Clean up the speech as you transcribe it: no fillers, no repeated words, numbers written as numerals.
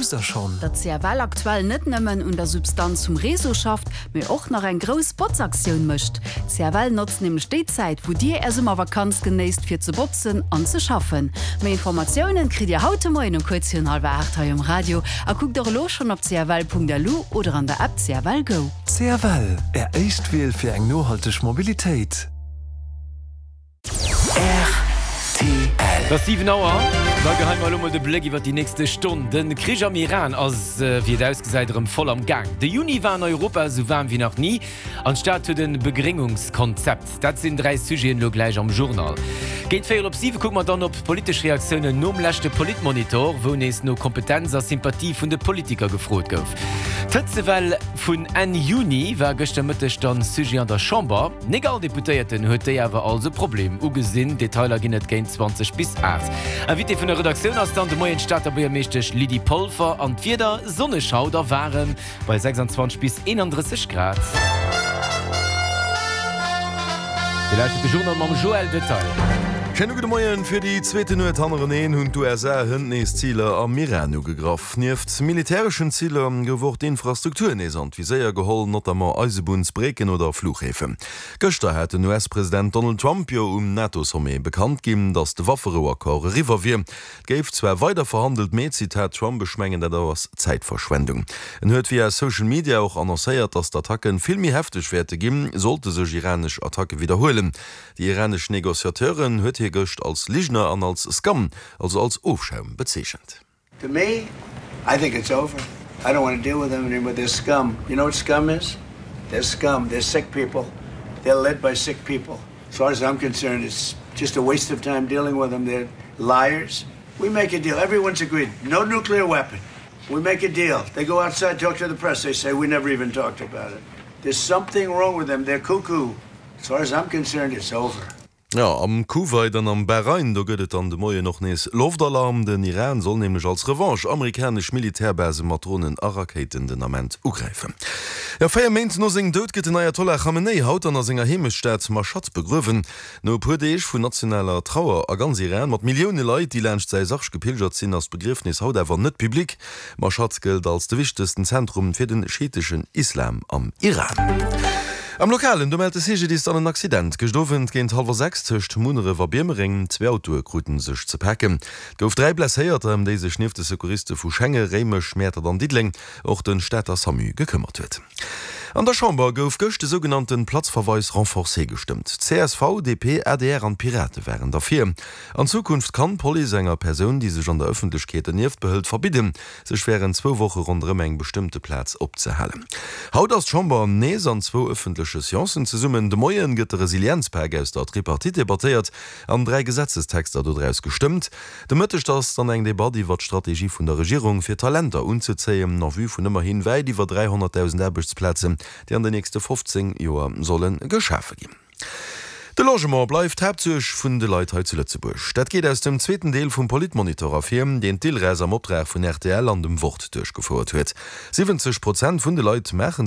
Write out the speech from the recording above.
Wousst der schonn? Datt CFL aktuell net nëmmen un der Substanz vum Réseau schafft, mee och nach eng grouss Botzaktioun mécht. CFL notzt nämlech déi Zäit, wou dir är Summervakanz genéisst, fir ze botzen an ze schaffen. Méi Informatiounen kritt dir haut de Moien um kuerz virun hallwer 8 hei um Radio a kuckt och elo schonn op cfl.lu oder an der App CFL Go. CFL, Är éischt Wiel fir eng nohalteg Mobilitéit. Rtl. Et ass 7 Auer, da geheie mer elo mol de Bléck iwwer déi nächste Stonn. De Krich am Iran ass, wéi et ausgesäit, erëm voll am Gaang. De Juni war an Europa esou waarm wéi nach ni an d'Stad huet e Begréngungskonzept. Dat sinn 3 Sujeten elo gläich am Journal. Géint véierel op 7 kucke mer dann op d'politesch Reaktiounen nom leschte Politmonitor, wou nees no Kompetenz a Sympathie vun de Politiker gefrot gouf. D'Hëtzewell vun Enn Juni war gëschter Mëtteg dann Sujet an der Chamber. Nik all Deputéierten huet déi awer als e Problem ugesinn. Detailer ginn et géint 20 bis 8. Invité vun der Redaktioun ass dann de Moien d'Stater Buergermeeschtesch Lydie Polfer. An d'Wieder, sonneg haut a waarem bei 26 bis 31 Grad. Dir lauschtert de Journal mam Joël Detail. Schéine gudde Moien. Fir déi zweete Nuet hannereneen hunn d'USA hënt nees Ziler am Iran ugegraff. Nieft militäreschen Ziler gouf och d'Infrastruktur nees an d'Viséier geholl, notamment Eisebunnsbrécken oder Fluchhäfen. Gëschter hat den US-President Donald Trump jo um NATO-Sommet bekannt ginn, datt de Wafferou-Accord eriwwer wier. Et géif zwar weider verhandelt, mee, Zitat Trump, ech mengen dat ass Zäitverschwendung. En huet via Social Media och annoncéiert, datt d'Attacke vill méi hefteg wäerte ginn, sollte sech iranesch Attacke widderhuelen. Déi iranesch Negociateuren huet hie gëscht als Ligner an als Scum, also als Ofschaum bezeechent. To me, I think it's over. I don't want to deal with them anymore. They're scum. You know what scum is? They're scum. They're sick people. They're led by sick people. As far as I'm concerned, it's just a waste of time dealing with them. They're liars. We make a deal. Everyone's agreed. No nuclear weapon. We make a deal. They go outside, talk to the press. They say, we never even talked about it. There's something wrong with them. They're cuckoo. As far as I'm concerned, it's over. Jo, am Kuwait an am Bahrain, do gëtt et dann de Moien och nees Loftalarm. Den Iran soll nämlech als Revanche amerikanesch Militärbase mat Dronen a Rakéiten den Ament ugräifen. Jo, 4 Méint no sengem Doud gëtt den Ayatollah Khamenei haut dann a senger Heemechtsstad Mashhad begruewen. No e puer Deeg vun nationaler Trauer a ganz Iran, mat Millioune Leit, déi laanscht säi Sarg gepilgert sinn, ass d'Begriefnis haut awer net public. Mashhad gëllt als de wichtegsten Zentrum fir de schiiteschen Islam am Iran. Am Lokalen, do mellt de CGDIS dann en Accident gëscht Owend géint hallwer 6 tëscht Munneref a Biermereng. Zwee Autoe krute sech ze paken. Et gouf 3 Blesséierter, ëm déi sech nieft de Secouriste vu Schenge, Réimech, Mäertert an Diddeleng och de Stater Samu gekëmmert huet. An der Chamber gouf gëscht de sougenannte Platzverweis renforcé gestëmmt. Csv, DP, adr an d'Pirate waren derfir. An Zukunft kann d'Police enger Persoun, déi sech an der Ëffentlechkeet dernieft behëlt, verbidden, sech wärend zwou Woche ronderëm eng bestëmmte Plaz opzehalen. Haut ass d'Chamber nees an zwou ëffentleche Seancen zesummen. De Moien gëtt de Resilienzpak aus der Tripartite debattéiert an 3 Gesetzestexter dodraus gestëmmt. De Mëtteg ass dann eng Debatt iwwer d'Strategie vun der Regierung, fir Talenter unzezéien, en vue vun ëmmerhin wäit iwwer 300.000 Aarbechtsplazen, déi an den nächste 15 Joer solle geschafe ginn. De Logement bleift d'Haaptsuerg vun de Leit hei zu Lëtzebuerg. Dat geet aus dem zweeten Deel vum Politmonitor ervir, deen d'ILRES am Optrag vun rtl an dem Wort duerchgefouert huet. 70 Prozent vun de Leit maache.